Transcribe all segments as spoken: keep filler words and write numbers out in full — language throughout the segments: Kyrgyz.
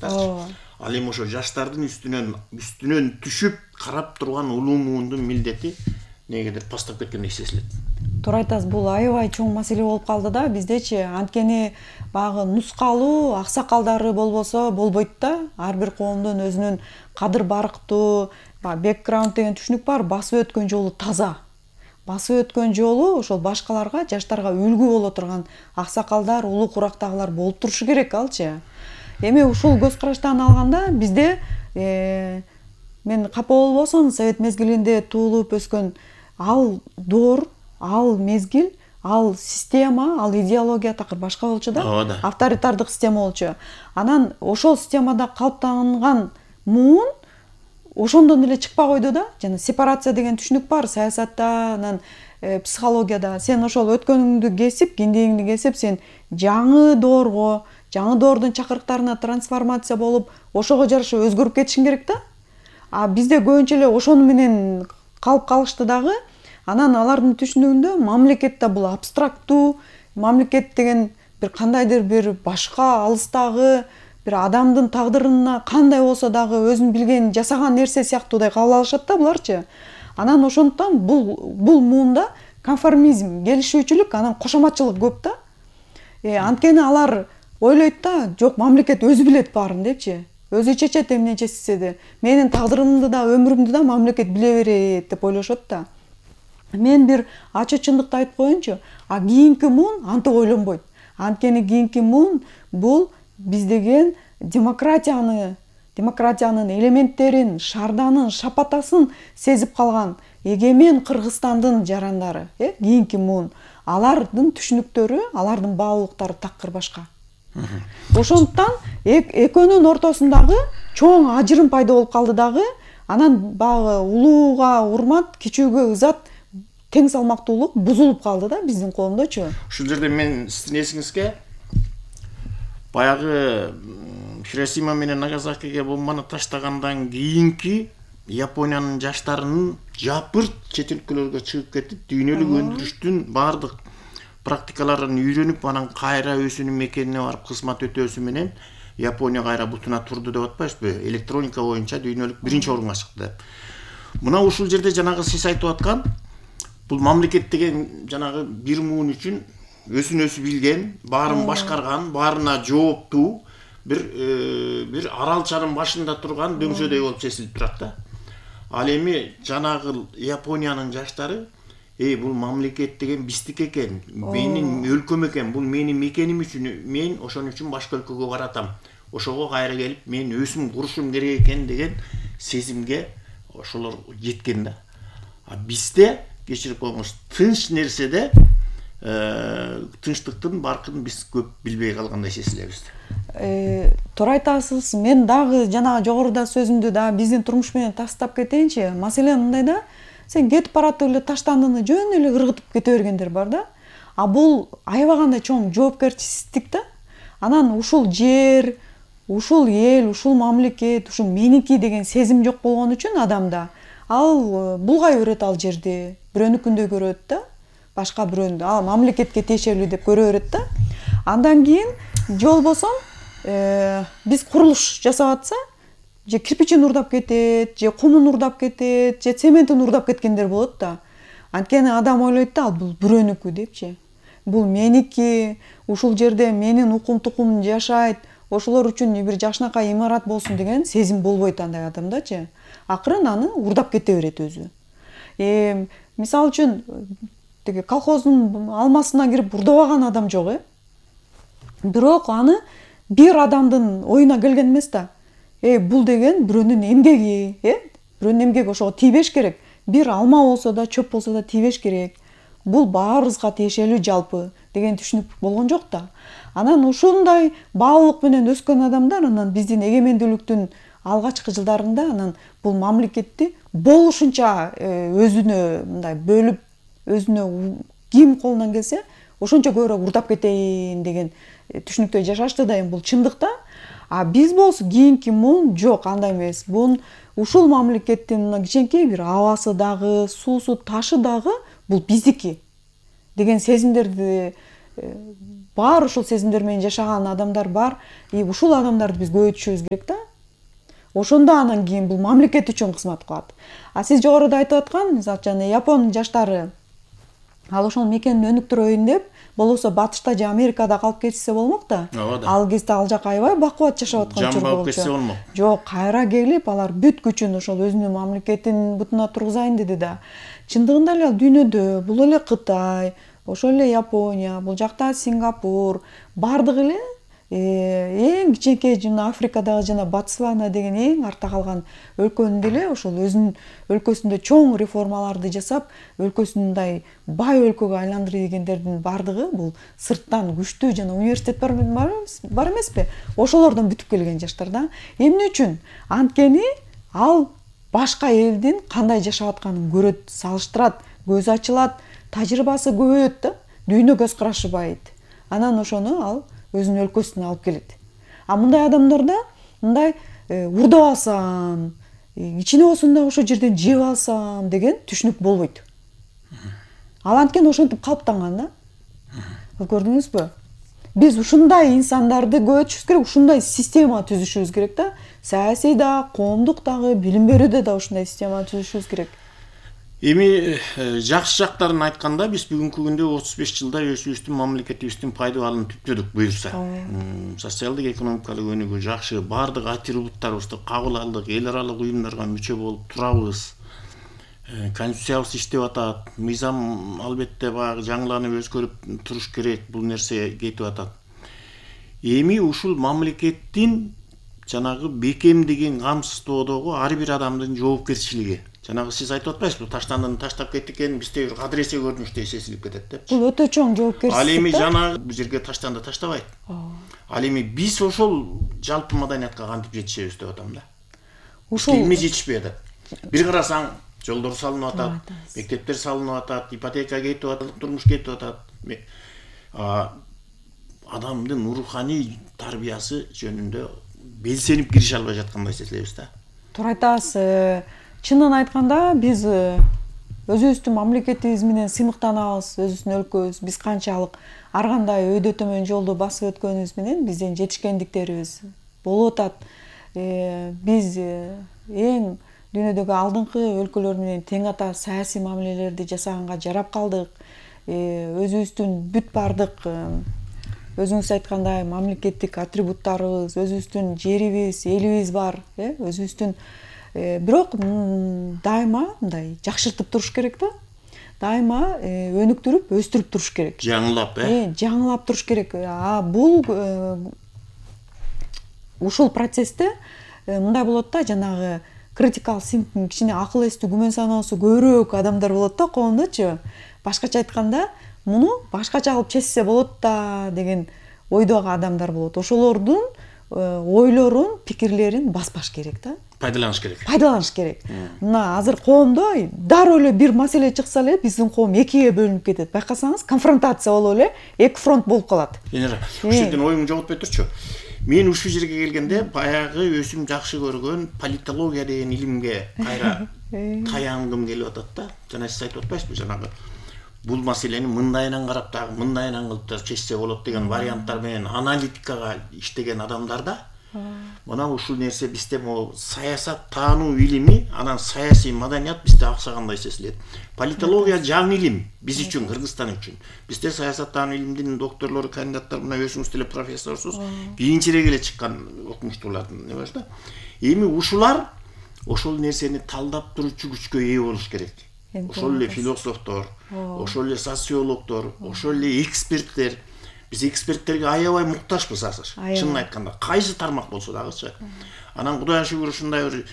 жаштарчы. Ал эми ошо жаштардын үстүнөн үстүнөн түшүп карап турган улуу муундун милдети негедир постап кеткендей сезилет. Туура айтасыз, бул аябай чоң маселе болуп калды да биздечи. Анткени баягы нускалуу аксакалдары болбосо болбойт да. Ар бир коомдун өзүнүн кадыр барктуу, бэкграунд деген түшүнүк бар, басып өткөн жолу таза. Басып өткөн жолу ошол башкаларга, жаштарга үлгү боло турган аксакалдар, улуу курактагылар болуп турушу керек алчы. Эми ушул көз караштан алганда бизде мен капа болбосом, совет мезгилинде туулуп өскөн ал доор, ал мезгил, ал система, ал идеология такыр башка болчу да. Авторитардык система болчу. Анан ошол системада калыптанган муун ошондон эле чыкпай койду да. Жана сепарация деген түшүнүк бар саясатта, анан психологияда. Сен ошол өткөнүңдү кесип, киндигиңди кесип, сен жаңы доорго, жаңы доордун чакырыктарына трансформация болуп, ошого жараша өзгөрүп кетишиң керек да. А бизде көбүнчө эле ошону менен калып калышты дагы. Анан алардын түшүнүгүндө мамлекет да бул абстрактуу, мамлекет деген бир кандайдыр бир башка алыстагы бир адамдын тагдырына кандай болсо дагы өзүн билген жасаган нерсе сыяктуудай кабыл алышат да буларчы. Анан ошондуктан бул бул муунда конформизм, келишүүчүлүк, анан кошоматчылык көп да. Э анткени алар ойлойт да, жок, мамлекет өзү билет баарын депчи. Өзү чечет эмне чечсе де. Менин тагдырымды да, өмүрүмдү да мамлекет биле берет деп ойлошот да. Мен бир ачык чындыкты айтып коеюнчу, а кийинки муун антип ойлонбойт. Анткени кийинки муун бул биз деген демократияны, демократиянын элементтерин, шаарданын, шапатасын сезип калган эгемен Кыргызстандын жарандары, э, кийинки муун. Алардын түшүнүктөрү, алардын баалуулуктары такыр башка. Ошондуктан экөөнүн ортосундагы чоң ажырым пайда болуп калды дагы. Анан баягы улууга урмат, кичүүгө ызат, тең салмактуулук бузулуп калды да биздин коомдочу. Ушул жерде мен сиздин эсиңизге баягы Хиросима менен Нагасакиге бомбаны таштагандан кийинки Япониянын жаштарынын жапырт чет өлкөлөргө чыгып кетип, дүйнөлүк өндүрүштүн бардык практикаларын үйрөнүп, анан кайра өзүнүн мекенине барып кызмат өтөөсү менен Япония кайра бутуна турду деп атпайсызбы? Электроника боюнча дүйнөлүк биринчи орунга чыкты деп. Мына ушул жерде жанагы сиз айтып аткан бул мамлекет деген жанагы бир муун үчүн өзүн өзү билген, баарын башкарган, баарына жооптуу бир бир аралчанын башында турган дөңсөдөй болуп сезилип турат да. Ал эми жанагы Япониянын жаштары, эй, бул мамлекет деген биздики экен, менин өлкөм экен, бул менин мекеним үчүн, мен ошон үчүн башка өлкөгө баратам. Ошого кайра келип, мен өзүм курушум керек экен деген сезимге ошолор жеткен да. А бизде кечирип коюңуз, тынч нерседе тынчтыктын баркын биз көп билбей калгандай сезилебиз. Э, туура айтасыз. Мен дагы жана жогоруда сөзүмдү да биздин турмуш менен тастап кетейинчи. Маселе мындай да, сен кетип баратып эле таштандыны жөн эле ыргытып кете бергендер бар да. А бул аябай кандай чоң жоопкерчилик да. Анан ушул жер, ушул эл, ушул мамлекет, ушул меники деген сезим жок болгон үчүн адамда ал булгай берет ал жерди, бирөөнүкүндөй көрөт да. Башка бирөөнү, а мамлекетке тиешелүү деп көрө берет да. Андан кийин же болбосо биз курулуш жасап атса, же кирпичин урдап кетет, же кумун урдап кетет, же цементин урдап кеткендер болот да. Анткени адам ойлойт да, ал бул бирөөнүкү депчи. Бул меники, ушул жерде менин укум тукумум жашайт, ошолор үчүн бир жакшынакай имарат болсун деген сезим болбойт андай адамдачы. Акырын аны урдап кете берет өзү. Э, мисалы үчүн теге колхоздун алмасына кирип урдабаган адам жок, э. Бирок аны бир адамдын оюна келген эмес да. Э, бул деген бирөөнүн эмгеги, э? Бирөөнүн эмгеги, ошого тийбеш керек. Бир алма болсо да, чөп болсо да тийбеш керек. Бул баарыбызга тиешелүү жалпы деген түшүнүк болгон жок да. Анан ушундай баалуулук менен өскөн адамдар анан биздин эгемендүүлүктүн алгачкы жылдарында анан бул мамлекетти болушунча өзүнө мындай бөлүп, өзүнө ким колунан келсе ошончо көбүрөөк урдап кетейин деген түшүнүктө жашашты да. Эми бул чындык да. А биз болсо кийинки муун жок, андай эмес. Бул ушул мамлекеттин мына кичинекей бир абасы дагы, суусу, ташы дагы бул биздики деген сезимдерди бар ушул сезимдер менен жашаган адамдар бар, и ушул адамдарды биз көбөйтүшүбүз керек да. Ошондо анан кийин бул мамлекет үчүн кызмат кылат. А сиз жогоруда айтып аткан, мисалы үчүн Япон жаштары ал ошол мекенин өнүктүрөйүн деп, болбосо батышта же Америкада калып кетишсе болмок да. Ал кезде ал жак аябай бакубат жашап аткан чор болчу. кетсе болмок. Жок, кайра келип, алар бүт күчүн ошол өзүнүн мамлекетин бутуна тургузайын деди да. Чындыгында эле дүйнөдө бул эле Кытай, ошол эле Япония, бул жакта Сингапур, бардыгы эле эң кичинекей жана Африкадагы жана Ботсвана деген эң артта калган өлкөнү деле ошол өзүнүн өлкөсүндө чоң реформаларды жасап, өлкөсүн мындай бай өлкөгө айландырды дегендердин бардыгы бул сырттан күчтүү жана университет бар бар эмеспи? Ошолордон бүтүп келген жаштар да. Эмне үчүн? Анткени ал башка элдин кандай жашап атканын көрөт, салыштырат, көз ачылат, тажрыйбасы көбөйөт да, дүйнө көз карашы байыйт. Анан ошону ал өзүнүн өлкөсүнө алып келет. А мындай адамдарда мындай урдап алсам, ичине болсун да ошол жерден жеп алсам деген түшүнүк болбойт. Ал анткени ошентип калыптанган да. Көрдүңүзбү? Биз ушундай инсандарды көбөйтүшүбүз керек, ушундай система түзүшүбүз керек да. Саясий да, коомдук дагы, билим берүүдө да ушундай система түзүшүбүз керек. Эми жакшы жактарын айтканда, биз бүгүнкү күндө отуз беш жылда өзүбүздүн мамлекетибиздин пайдаланып түптөдүк буюрса. Социалдык экономикалык өнүгүү жакшы, бардык атрибуттарыбызды кабыл алдык, эл аралык уюмдарга мүчө болуп турабыз. Конституциябыз иштеп атат, мыйзам албетте баягы жаңыланып өзгөрүп туруш керек, бул нерсе кетип атат. Эми ушул мамлекеттин жанагы бекемдигин камсыздоодогу ар бир адамдын жоопкерчилиги. Жанагы сиз айтып атпайсызбы, таштандын таштап кетти экен, бизде бир кадыресе көрүнүштөй сезилип кетет деп. Бул өтө чоң жоопкерчилик. Ал эми жанагы бул жерге таштанды таштабайт. Ал эми биз ошол жалпы маданиятка кантип жетишебиз деп атам да. Ушул эмне жетишпей атат? Бир карасаң, жолдор салынып атат, мектептер салынып атат, ипотека кетип атат, турмуш кетип атат. Адамдын руханий тарбиясы жөнүндө белсенип киреше албай жаткандай сезилебиз да. Туура айтасыз. Чынын айтканда, биз өзүбүздүн мамлекетибиз менен сыймыктанабыз, өзүбүздүн өлкөбүз, биз канчалык ар кандай өйдө төмөн жолду басып өткөнүбүз менен биздин жетишкендиктерибиз болуп атат. Биз эң дүйнөдөгү алдыңкы өлкөлөр менен тең ата саясий мамилелерди жасаганга жарап калдык. Өзүбүздүн бүт бардык өзүңүз айткандай мамлекеттик атрибуттарыбыз, өзүбүздүн жерибиз, элибиз бар, өзүбүздүн бирок дайыма мындай жакшыртып туруш керек да. Дайыма өнүктүрүп, өстүрүп туруш керек. Жаңылап, э? Жаңылап туруш керек. А бул ушул процессте мындай болот да, жанагы critical thinking, кичине акыл эстүү күмөн саноосу көбүрөөк адамдар болот да коомдочу. Башкача айтканда, муну башкача кылып чечсе болот да деген ойдогу адамдар болот. Ошолордун ойлорун, пикирлерин баспаш керек да. Пайдаланыш керек. Пайдаланыш керек. Мына азыр коомдо дароо эле бир маселе чыкса эле биздин коом экиге бөлүнүп кетет. Байкасаңыз, конфронтация болуп эле эки фронт болуп калат. Энера, ушул жерден оюңду жоготпой турчу. Мен ушул жерге келгенде баягы өзүм жакшы көргөн политология деген илимге кайра таянгым келип атат да. Жана сиз айтып атпайсызбы, жанагы бул маселени мындайынан карап дагы мындайынан кылып да чечсе болот деген варианттар менен аналитикага иштеген адамдарда мына ушул нерсе бизде могу саясат таануу илими, анан саясий маданият бизде аксагандай сезилет. Политология жаңы илим биз үчүн, Кыргызстан үчүн. Бизде саясат таануу илимдин докторлору, кандидаттар, мына өзүңүз деле профессорсуз, кийинчерээк эле чыккан окумуштуулардын не бар да. Эми ушулар ошол нерсени талдап туручу күчкө ээ болуш керек. Ошол эле философтор, ошол эле социологдор, ошол эле эксперттер. Биз эксперттерге аябай муктажбыз азыр. Чынын айтканда, кайсы тармак болсо дагычы. Анан Кудайга шүгүр ушундай бир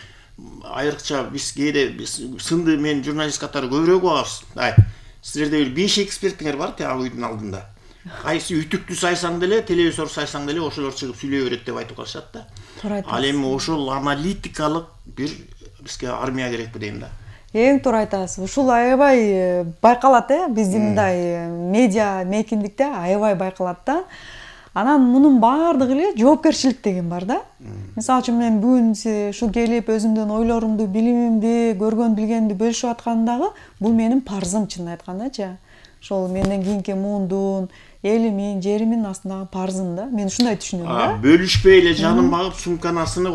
айрыкча биз кээде сынды мен журналист катары көбүрөөк угабыз. Ай, силерде бир беш экспертиңер бар тияга үйдүн алдында. Кайсы ütүктү сайсаң деле, телевизор сайсаң деле ошолор чыгып сүйлөй берет деп айтып калышат да. Ал эми ошол аналитикалык бир бизге армия керекпи дейм да. Эң туура айтасыз. Ушул аябай байкалат, э, биздин мындай медиа мейкиндикте аябай байкалат да. Анан мунун баардыгы эле жоопкерчилик деген бар да. Мисалы үчүн мен бүгүн ушу келип өзүмдүн ойлорумду, билимимди, көргөн билгенимди бөлүшүп аткандагы бул менин парзым, чынын айткандачы. ошол менден кийинки муундун элимин жеримин астындагы парзын да мен ушундай түшүнөм да. Бөлүшпөй эле жанын багып сумканы асынып